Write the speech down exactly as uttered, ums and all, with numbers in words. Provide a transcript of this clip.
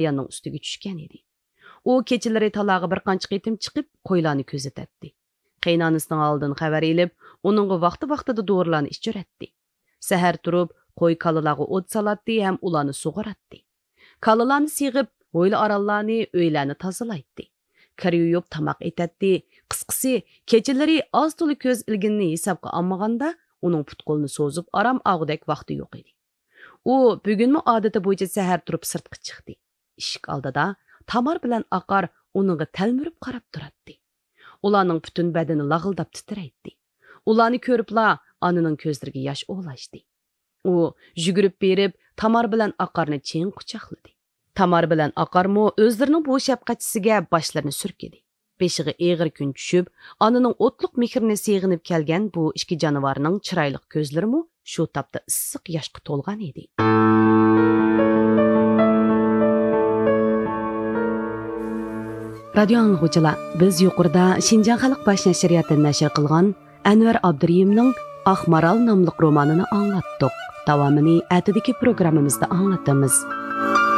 باياننىڭ ئۈستىگە چۈشكەن ئىدى. ئۇ كېچىلىرى تالاغا بىر قانچە قېتىم چىقىپ، قويلارنى كۆزىتەتتى. قېيىنئانىسىنىڭ ھالىدىن خەۋەر ئېلىپ، ئۇنىڭغا ۋاقتى-ۋاقتىدا دورىلارنى ئىچۈرەتتى. سەھەر تۇرۇپ، قوي-كالىلارغا ئوت سالاتتى ھەم ئۇلارنى سۇغۇراتتى. كالىلارنى سېغىپ، ھويلا-ئارانلارنى، ئۆيلەرنى تازىلايتتى. كىر يۇيۇپ، تاماق ئېتەتتى. قىسقىسى، كېچىلىرى ئاز-تولا كۆز ئىلگىنىنى ھېسابقا ئالمىغاندا، ئۇنىڭ پۇت-قولىنى سوزۇپ ئارام ئالغۇدەك ۋاقتى يوق ئىدى. ئۇ بۈگۈنمۇ ئادىتى بويىچە سەھەر تۇرۇپ سىرتقا چىقتى. ئىشىك ئالدىدا تامار بىلەن ئاقار ئۇنىڭغا تەلمۈرۈپ قاراپ تۇراتتى. ئۇلارنىڭ پۈتۈن بەدىنى لاغىلداپ تىترەيتتى. ئۇلارنى كۆرۈپلا ئانىنىڭ كۆزلىرىگە ياش ئولاشتى. ئۇ يۈگۈرۈپ بېرىپ، تامار بىلەن ئاقارنى چىڭ قۇچاقلىدى. تامار بىلەن ئاقارمۇ ئۆزلىرىنىڭ بۇ شەپقەتچىسىگە باشلىرىنى سۈركىدى. بېشىغا ئېغىر كۈن چۈشۈپ، ئانىنىڭ ئوتلۇق مېھرىنى سېغىنىپ كەلگەن بۇ ئىككى جانىۋارنىڭ چىرايلىق كۆزلىرىمۇ شۇ تاپتا ئىسسىق ياشقا تولغان ئىدى. رادىيو ئاڭلىغۇچىلار، بىز يۇقىرىدا شىنجاڭ خەلق باش نەشرىياتى نەشر قىلغان ئەنۋەر ئابدۇرېھىمنىڭ ئاق مارال ناملىق رومانىنى ئاڭلاتتۇق. داۋامىنى ئەتىدىكى پروگراممىمىزدا ئاڭلىتىمىز.